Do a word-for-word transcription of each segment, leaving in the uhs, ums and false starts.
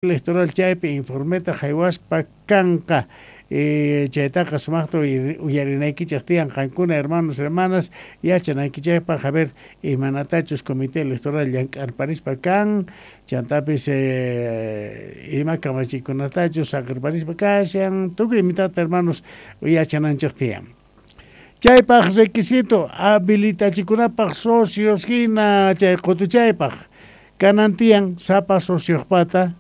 Electoral chaypi informeta haywaspa kanqa. Eh, chaytaqa sumaqta uyarinaykichik tiyan qankuna, hermanos, hermanas, yachanaykichikpaq, a ver imanatachus comité electoral llank'arparispa kan, chantapis eh, ima kamachikunatachus saqirparispa kashan, tukuy imitata, hermanos, yachananchik tiyan. Chaypaq requisito habilitachikunapaq socios hina chay qutuchaypaq kanan tiyan sapa sociojpata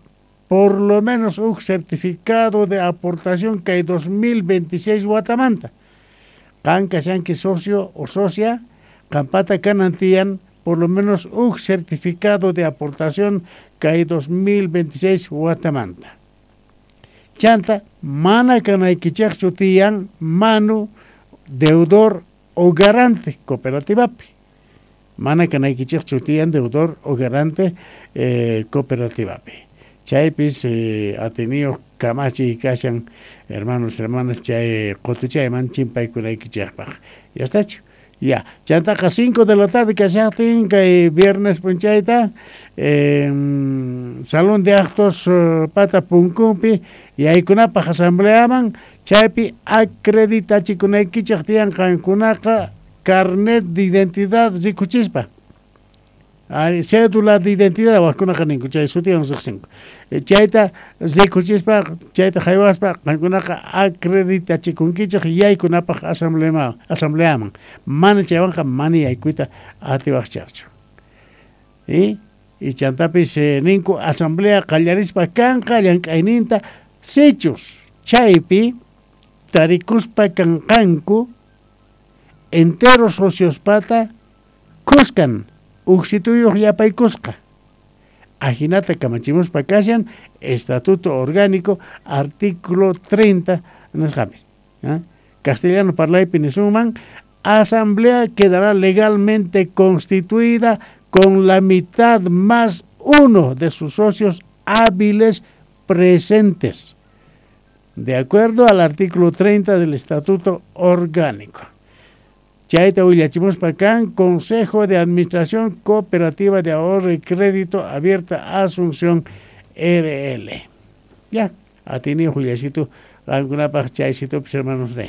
por lo menos un certificado de aportación kay dos mil veintiséis watamanta. Qan kashanki socio o socia, qampata kanan tiyan por lo menos un certificado de aportación kay dos mil veintiséis watamanta. Chanta, mana kanaykichikchu tiyan manu, deudor o garante cooperativapi. Mana kanaykichikchu tiyan deudor o garante eh, cooperativapi. Chaypis eh, atiniyuq kamachiy kashan, hermanos, hermanas, chay qutuchayman chimpaykunaykichikpaq. Ya estachu. Ya, chantaqa cinco de la tarde kashaqtin kay viernes p'unchayta eh, salón de actos uh, pata punkunpi yaykunapaq asambleaman, chaypi acreditachikunaykichik tiyan qankunaqa carnet de identidad rikuchispa. Ari, cédula de identidad waqkunaqa ninku, chay sutiwan riqsinku. Chayta rikuchispa, chayta haywaspa qankunaqa acreditachikunkichik yaykunapaq asamblea asambleaman. Mana chaywanqa mana yaykuyta atiwaqchikchu. Y y chantapis eh, ninku asamblea qallarispa kanqa llank'ayninta sichus chaypi tarikuspa kanqanku entero sociospata kuskan uksituyuq yapaykusqa. Ajinata kamachimuspa kashan Estatuto Orgánico, artículo treinta nisqapi. ¿Eh? Castellano parlaypi nisunman: asamblea quedará legalmente constituida con la mitad más uno de sus socios hábiles presentes, de acuerdo al artículo treinta del Estatuto Orgánico. Chayta willachimuspa kan Consejo de Administración Cooperativa de Ahorro y Crédito Abierta Asunción R L. Ya, atini Juliacito, qankunapaq chaysitupas, hermanos de.